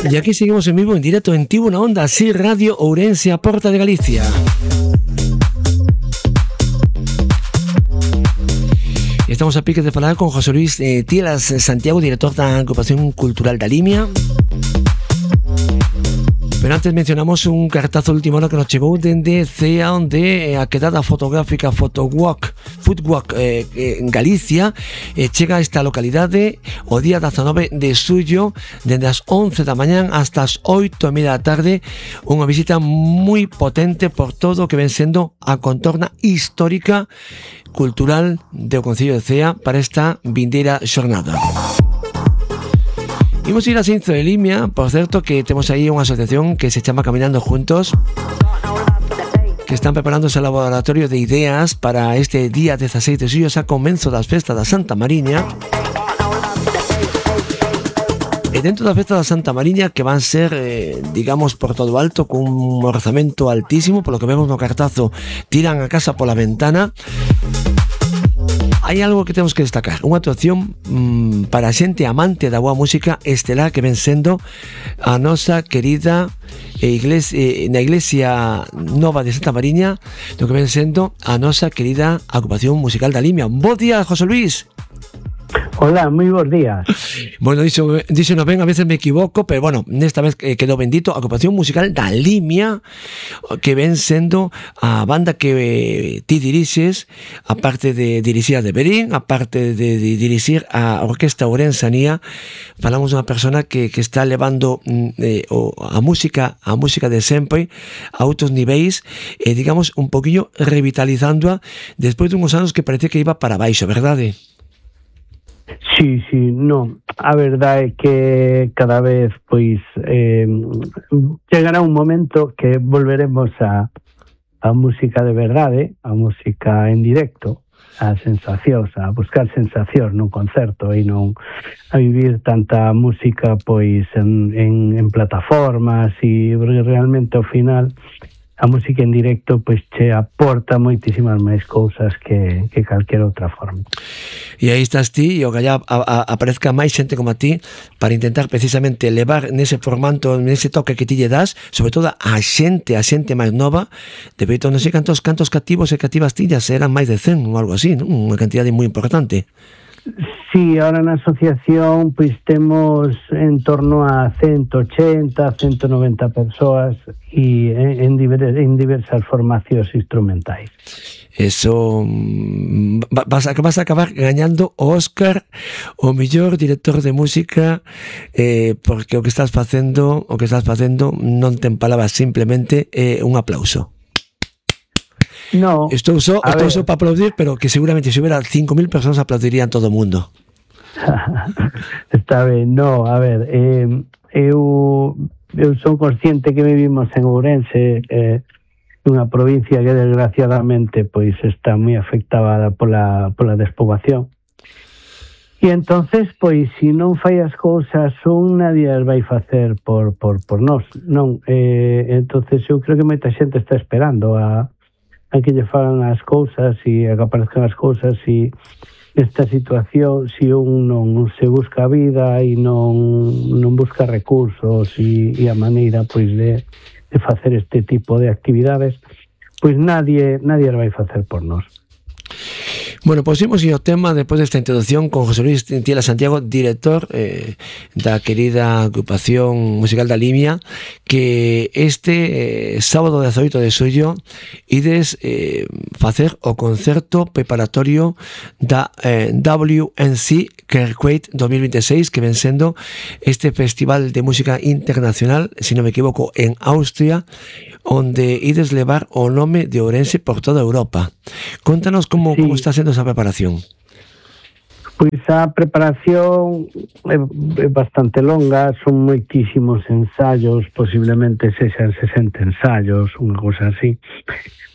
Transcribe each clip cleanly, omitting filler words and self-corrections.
Y aquí seguimos en vivo, en directo, en Tivo na Onda, así Radio Ourense, a Porta de Galicia. Estamos a pique de falar con José Luis Tielas Santiago, director da Agrupación Cultural da Limia. Pero antes mencionamos un cartazo último hora que nos chegou dende CEA, onde a quedada fotográfica Footwalk en Galicia chega a esta localidade o día 19 de xullo, dende as 11 da mañán hasta as 8:30 da tarde, unha visita moi potente por todo o que ven sendo a contorna histórica cultural do Concello de Cea para esta vindeira xornada. Imos ir a Cinzo de Limia, por certo que temos aí unha asociación que se chama Caminando Juntos, que están preparando ese laboratorio de ideas para este día 16 de xullo, xa comenzo das festas da Santa Mariña. E dentro da festa da Santa Mariña, que van ser, digamos, por todo alto, con un orzamento altísimo, polo que vemos no cartazo, tiran a casa pola ventana. Hai algo que temos que destacar, unha actuación para a xente amante da boa música estelar que ven sendo a nosa querida na Iglesia Nova de Santa Mariña, do que ven sendo a nosa querida Agrupación Musical da Limia. Bo día, José Luis. Hola, moi bons días. Bueno, dixo no ben, a veces me equivoco, pero bueno, nesta vez quedou bendito. Agrupación Musical da Limia, que ven sendo a banda que ti dirixes, aparte de dirixir a de Berín, aparte de dirixir a Orquesta Ourensanía. Falamos dunha persona que está levando a música de sempre a outros niveis, digamos, un poquinho revitalizándoa despois dunhos anos que parecía que iba para baixo, verdade? Sí, non. A verdade é que cada vez pois chegará un momento que volveremos a música de verdade, a música en directo, a sensacións, a buscar sensacións nun concerto e non a vivir tanta música pois en plataformas, e realmente ao final a música en directo pois che aporta moitísimas máis cousas que calquera outra forma. E aí estás ti, e o gallá aparezca máis xente como a ti para intentar precisamente levar nese formato, nese toque que ti lle das, sobre todo a xente máis nova. De feito, non sei cantos cativos e cativas tillas, eran máis de 100 ou algo así, non? Unha cantidade moi importante. Sí, ahora na asociación pois temos en torno a 180, 190 persoas e en diversas formacións instrumentais. Eso vas a acabar gañando o Óscar o mellor director de música, porque o que estás facendo non ten palabras, simplemente un aplauso. No, estou só para aplaudir, pero que seguramente se hubiera 5.000 persoas aplaudirían todo o mundo. Está ben, no, a ver, eu son consciente que vivimos en Ourense, unha provincia que desgraciadamente pois está moi afectada pola despoboación. E entonces, pois, se non fai as cousas nadie as vai facer por nós, non? Entonces eu creo que moita xente está esperando a que lle fagan as cousas e a que aparezcan as cousas, e esta situación, se un non se busca a vida e non busca recursos e a maneira pois de facer este tipo de actividades, pois nadie as vai facer por nós. Bueno, pois imos ao tema despois desta introducción con José Luis Tielas Santiago, director da querida Agrupación Musical da Limia, que este sábado 18 de xullo ides facer o concerto preparatorio da WNC Kerkweit 2026, que ven sendo este festival de música internacional, se non me equivoco, en Austria, onde ides levar o nome de Ourense por toda Europa. Contanos como está sendo esa preparación. Pois a preparación é bastante longa, son moitísimos ensaios, posiblemente sexan 60 ensaios, unha cousa así,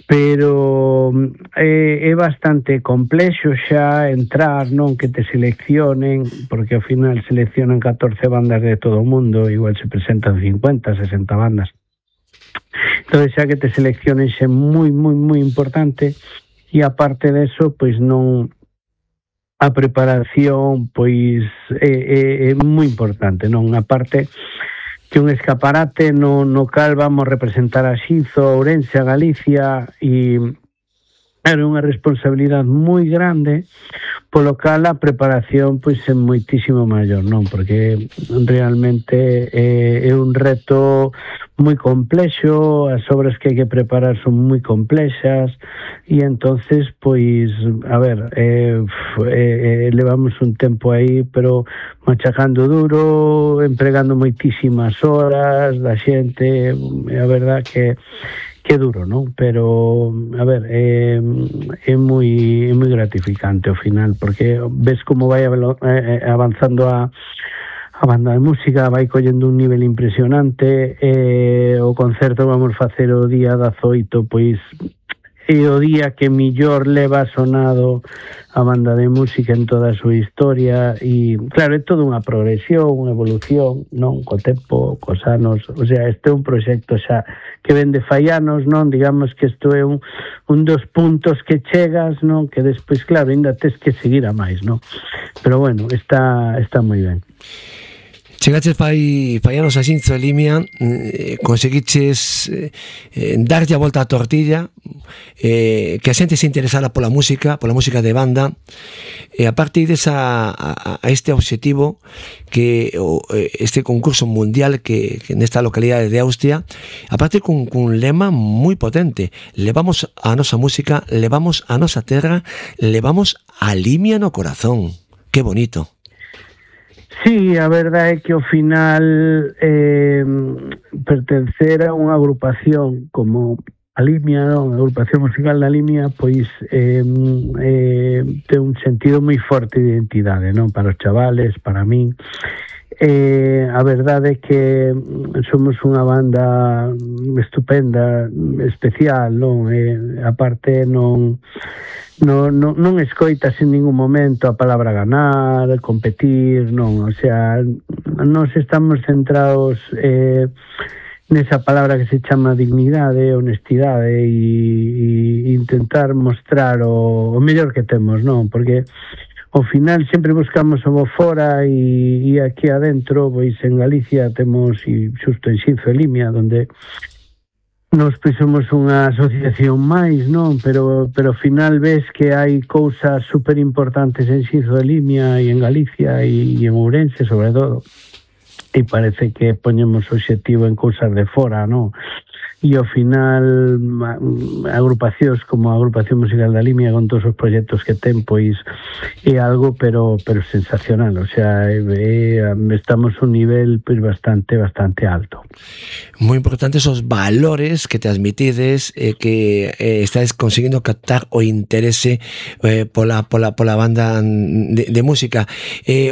pero é bastante complexo xa entrar, non que te seleccionen, porque ao final seleccionan 14 bandas de todo o mundo, igual se presentan 50, 60 bandas. Entón xa que te seleccionen xa é moi importante, e aparte deso, pois non, a preparación pois é moi importante, non? Aparte un escaparate no cal vamos representar a Xinzo, a Ourense, a Galicia, e era unha responsabilidade moi grande, polo cal a preparación pois é moitísimo maior, non? Porque realmente é un reto moi complexo, as obras que hai que preparar son moi complexas, e entonces pois, a ver, levamos un tempo aí, pero machacando duro, empregando moitísimas horas da xente, a verdad que duro, non? Pero, a ver, é moi gratificante ao final, porque ves como vai avanzando a banda de música, vai collendo un nivel impresionante, o concerto vamos facer o día 18, pois é o día que millor leva sonado a banda de música en toda a súa historia, e claro, é toda unha progresión, unha evolución, non? Co tempo, cos anos, o sea, este é un proxecto xa que vende fai anos, non? Digamos que isto é un dos puntos que chegas, non? Que despois, claro, ainda tes que seguir a máis, non? Pero bueno, está moi ben. Chegaches fai anos a Xinzo e Limia, conseguiches darlle a volta á tortilla, que a xente se interesara pola música de banda, e a partir a este obxectivo, que este concurso mundial que nesta localidade de Austria, a partir cun lema moi potente: levamos a nosa música, levamos a nosa terra, levamos a Limia no corazón. Que bonito. Sí, a verdade é que ao final pertencer a unha agrupación como a Limia, non? A agrupación musical da Limia, pois ten un sentido moi forte de identidade, non? Para os chavales, para min. A verdade é que somos unha banda estupenda, especial, non? A parte non escoitas en ningún momento a palabra ganar, competir, non, o sea, nós estamos centrados nesa palabra que se chama dignidade, honestidade, e intentar mostrar o mellor que temos, non? Porque ao final sempre buscamos o bo fora, e aquí adentro, pois en Galicia temos, e xusto en Xinzo e Limia, onde nos pois somos unha asociación máis, non? Pero ao final ves que hai cousas super importantes en Xinzo de Limia e en Galicia e en Ourense, sobre todo, e parece que poñemos o obxectivo en cousas de fora, non? E ao final agrupacións como a Agrupación Musical da Limia, con todos os proxectos que ten, pois é algo pero sensacional, o sea, estamos a un nivel pois bastante alto. Moi importantes os valores que transmitides, que estáis conseguindo captar o interese pola banda de música.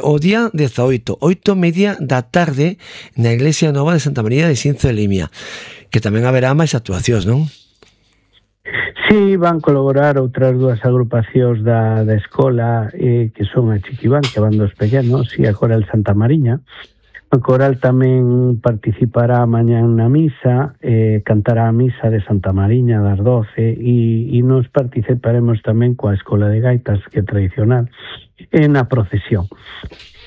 O día 18, 8:30 da tarde, na Iglesia Nova de Santa María de Xinzo de Limia, que tamén haberá máis actuacións, non? Sí, van colaborar outras dúas agrupacións da escola, que son a Chiquibán, que van dos pequenos, e a Coral Santa Mariña. A Coral tamén participará mañán na misa, cantará a misa de Santa Mariña das 12, e nos participaremos tamén coa Escola de Gaitas, que é tradicional, na procesión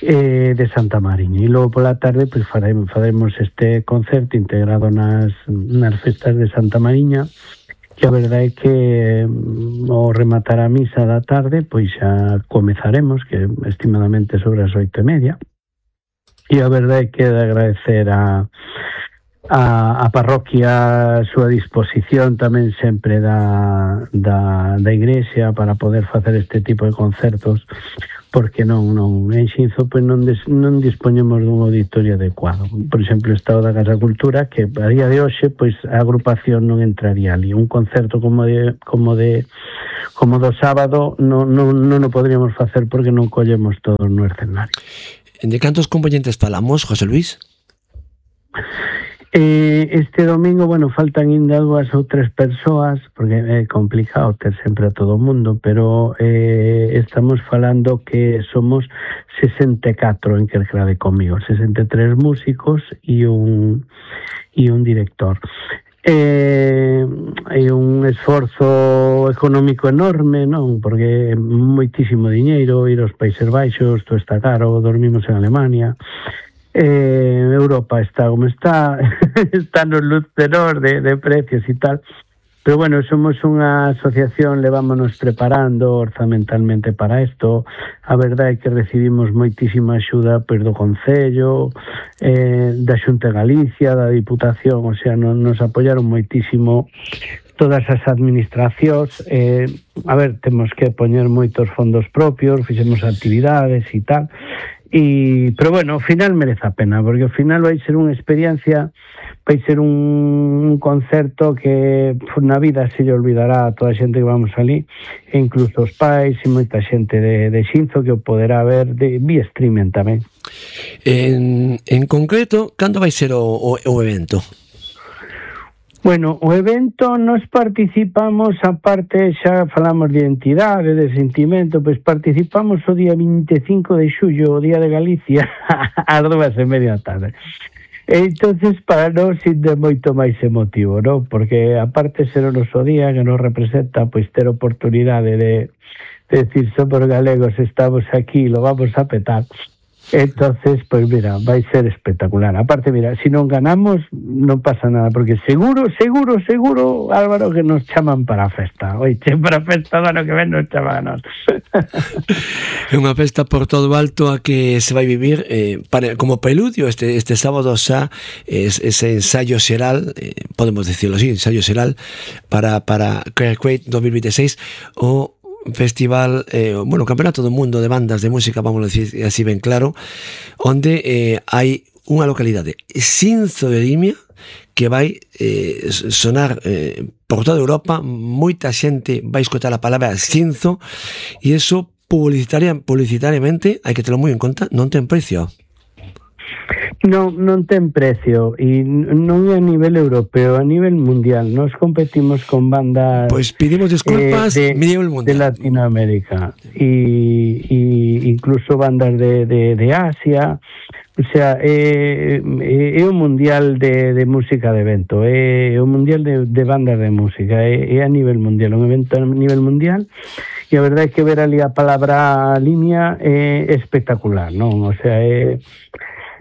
de Santa Mariña. E logo pola tarde pois faremos este concerto integrado nas festas de Santa Mariña, que a verdade é que ao rematar a misa da tarde pois xa comezaremos, que estimadamente sobre as 8:30, e a verdade é que de agradecer a parroquia a súa disposición tamén sempre da igrexa para poder facer este tipo de concertos, porque non en Xinzo pois non dispoñemos dun auditorio adecuado. Por exemplo, o Estado da Casa Cultura, que a día de hoxe pois a agrupación non entraría ali. Un concerto como do sábado non o podríamos facer porque non collemos todos no escenario. De cantos componentes falamos, José Luis? Este domingo, bueno, faltan ainda 2 ou 3 persoas, porque é complicado ter sempre a todo o mundo, pero estamos falando que somos 64 en Quercrade comigo, 63 músicos e un director. É un esforzo económico enorme, non? Porque é moitísimo diñeiro, ir aos Países Baixos, todo está caro, dormimos en Alemania. Europa está como está, está nos luz menor de precios e tal. Pero bueno, somos unha asociación, levámonos preparando orzamentalmente para isto. A verdade é que recibimos moitísima axuda do Concello, da Xunta de Galicia, da Diputación, o sea, nos apoyaron moitísimo todas as administracións. A ver, temos que poñer moitos fondos propios, fixemos actividades e tal, pero bueno, ao final merece a pena, porque ao final vai ser unha experiencia, vai ser un concerto que na vida se lle olvidará a toda a xente que vamos ali, e incluso os pais e moita xente de Xinzo que o poderá ver vía streaming tamén. En concreto, cando vai ser o evento? Bueno, o evento nos participamos, aparte xa falamos de identidade, de sentimento, pois participamos o día 25 de xullo, o día de Galicia, ás 2:30 da tarde. Entonces, para nós é moito máis emotivo, non? Porque aparte ser o noso día que nos representa, pois ter oportunidade de decir somos galegos, estamos aquí, lo vamos a petar. Entonces, pues mira, vai ser espectacular. Aparte, mira, si non ganamos non pasa nada, porque seguro, Álvaro, que nos chaman para a festa. Oiche, para a festa do ano que ven nos chaman a nós. É unha festa por todo alto a que se vai vivir como preludio este sábado xa ese ensayo xeral, podemos decirlo así, ensayo xeral para Create 2026, o festival, campeonato do mundo de bandas de música, vamos a decir así ben claro, onde hai unha localidade, Xinzo de Limia, que vai sonar por toda Europa. Moita xente vai escoitar a palabra Xinzo, e iso publicitariamente hai que terlo moi en conta, non ten precio. Non ten precio, e non é a nivel europeo, a nivel mundial. Nos competimos con bandas, pois pedimos disculpas, nivel mundial, de Latinoamérica e incluso bandas de Asia. O sea, é un mundial de música de evento, é un mundial de bandas de música, é a nivel mundial, un evento a nivel mundial. E a verdade é que ver ali a palabra Limia é espectacular, non? O sea, é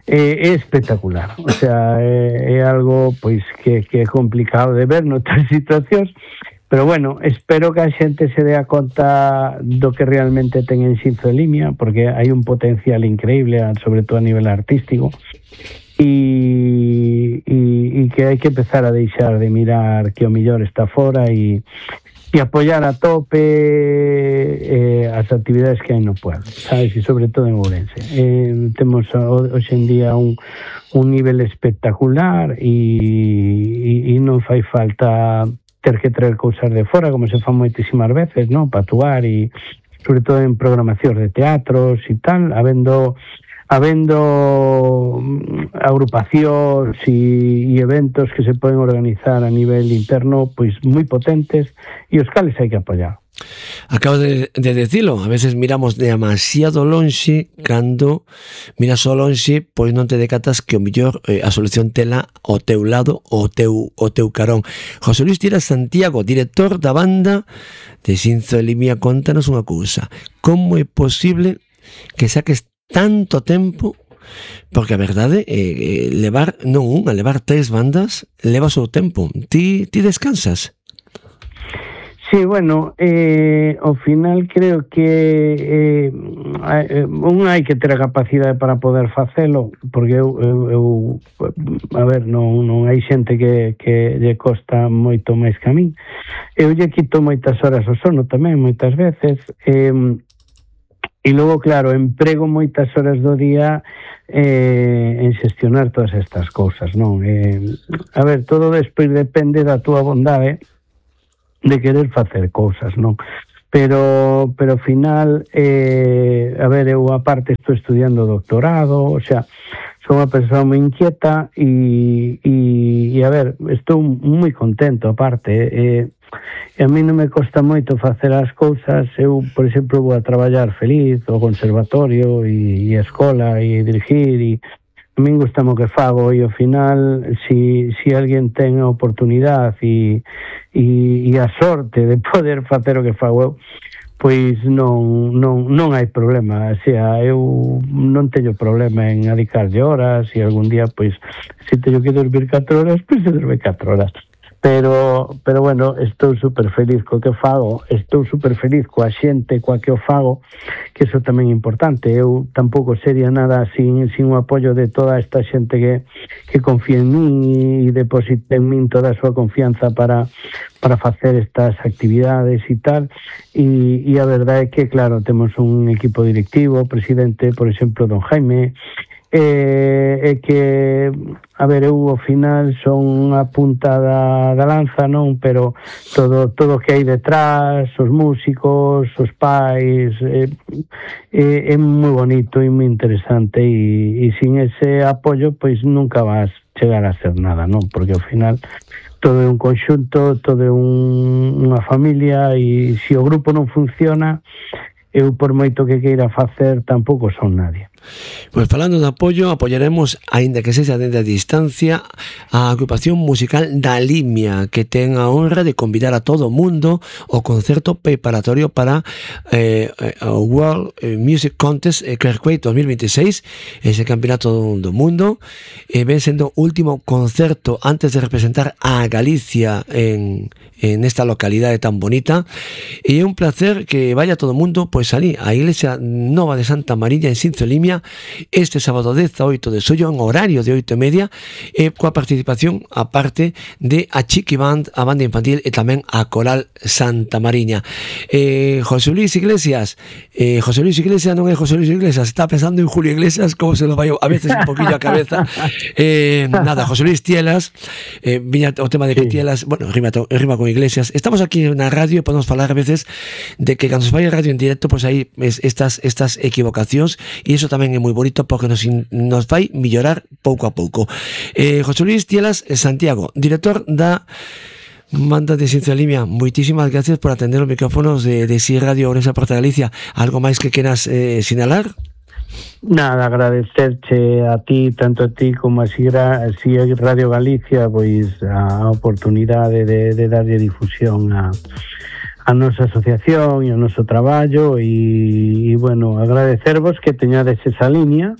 espectacular, o sea, é algo pois que é complicado de ver noutras situacións, pero bueno, espero que a xente se dea conta do que realmente ten en Xinzo de Limia, porque hai un potencial increíble, sobre todo a nivel artístico, e que hai que empezar a deixar de mirar que o mellor está fora e apoiar a tope as actividades que hai no pueblo, sabes, e sobre todo en Ourense. Temos hoxe en día un nivel espectacular e non fai falta ter que traer cousas de fora, como se fan moitísimas veces, non? Para actuar, e sobre todo en programacións de teatros e tal, habendo agrupacións e eventos que se poden organizar a nivel interno, pois moi potentes, e os cales hai que apoiar. Acabo de decirlo, a veces miramos demasiado lonxe, cando miras ao lonxe, pois non te decatas que o mellor a solución tela ao teu lado, o teu carón. José Luis Tiela Santiago, director da banda de Xinzo de Limia, contanos unha cousa: como é posible que saques tanto tempo? Porque a verdade levar non unha, levar 3 bandas leva o seu tempo. Ti descansas? Sí, bueno, ao final creo que hai que ter a capacidade para poder facelo, porque eu a ver, non hai xente que lle costa moito máis que a min. Eu lle quito moitas horas ao sono tamén, moitas veces, e logo, claro, emprego moitas horas do día en xestionar todas estas cousas, non? A ver, todo despois depende da túa bondade de querer facer cousas, non? Pero ao final, a ver, eu aparte estou estudiando doctorado, o sea, son unha persoa moi inquieta e a ver, estou moi contento aparte, e a mí non me costa moito facer as cousas. Eu, por exemplo, vou a traballar feliz ao conservatorio e a escola e dirigir, e a min gustame o que fago, e ao final si alguén ten a oportunidade e a sorte de poder facer o que fago eu, pois non hai problema, o sea, eu non teño problema en adicarlle horas, e algún día, pois, se teño que dormir 4 horas, pois se dorme 4 horas. Pero bueno, estou super feliz co que fago, estou super feliz coa xente coa que o fago, que iso tamén é importante. Eu tampouco sería nada sin o apoio de toda esta xente que confía en min e deposita en min toda a súa confianza para facer estas actividades e tal, e a verdade é que, claro, temos un equipo directivo, presidente, por exemplo, don Jaime, é que, a ver, eu ao final son a punta da lanza, non? Pero todo o que hai detrás, os músicos, os pais, é moi bonito e moi interesante, e sin ese apoio, pois nunca vas chegar a ser nada, non? Porque ao final todo é un conxunto, todo é unha familia, e se o grupo non funciona, eu por moito que queira facer tampouco son nadie. Pois falando de apoio, apoiaremos, aínda que sexa dende a distancia, a agrupación musical da Limia, que ten a honra de convidar a todo o mundo ao concerto preparatorio para o World Music Contest Kirkway 2026, ese campeonato do mundo, ven sendo o último concerto antes de representar a Galicia en esta localidade tan bonita, e é un placer que vaya todo o mundo pois ali, a Iglesia Nova de Santa Mariña en Sinzo Limia, este sábado 18 de xullo en horario de 8:30, coa participación aparte de a Chiqui Band, a banda infantil e tamén a Coral Santa Mariña. José Luis Iglesias non é José Luis Iglesias, está pensando en Julio Iglesias, como se lo vai a veces un poquillo a cabeza. Nada, José Luis Tielas, viña o tema de que Tielas, bueno, rima con Iglesias. Estamos aquí na radio e podemos falar a veces de que cando se vai a radio en directo, pois hai estas equivocacións, e iso tamén é moi bonito porque nos vai mellorar pouco a pouco. José Luis Tielas Santiago, director da banda de Sinzo Limia, moitísimas gracias por atender os micrófonos de Si Radio Ourense Porta Galicia. Algo máis que queras sinalar? Nada, agradecerche a ti, tanto a ti como a Si Radio Galicia, pois a oportunidade de darlle difusión a nosa asociación e o noso traballo, e bueno, agradecervos que teñades esa línea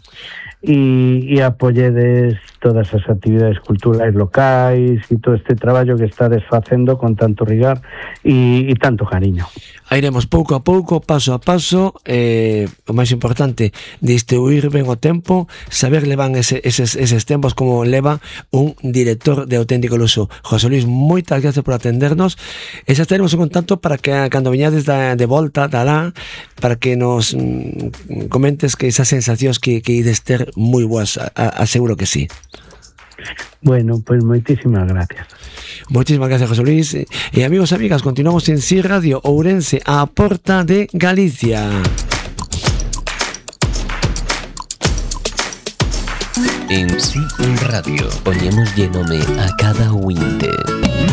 e apoyedes todas as actividades culturais locais e todo este traballo que estades facendo con tanto rigor e tanto cariño. Iremos pouco a pouco, paso a paso, o máis importante, distribuir ben o tempo, saber levar eses tempos como leva un director de auténtico luso. José Luis, moitas gracias por atendernos, e xa estaremos en contacto para que cando veñades de volta da lá, para que nos comentes que esas sensacións que ides ter moi boas, aseguro que sí. Bueno, pues moitísimas gracias. Moitísimas gracias, José Luis. E amigos e amigas, continuamos en Si Radio Ourense, a porta de Galicia. En Si Radio poñémoslle nome a cada ointe.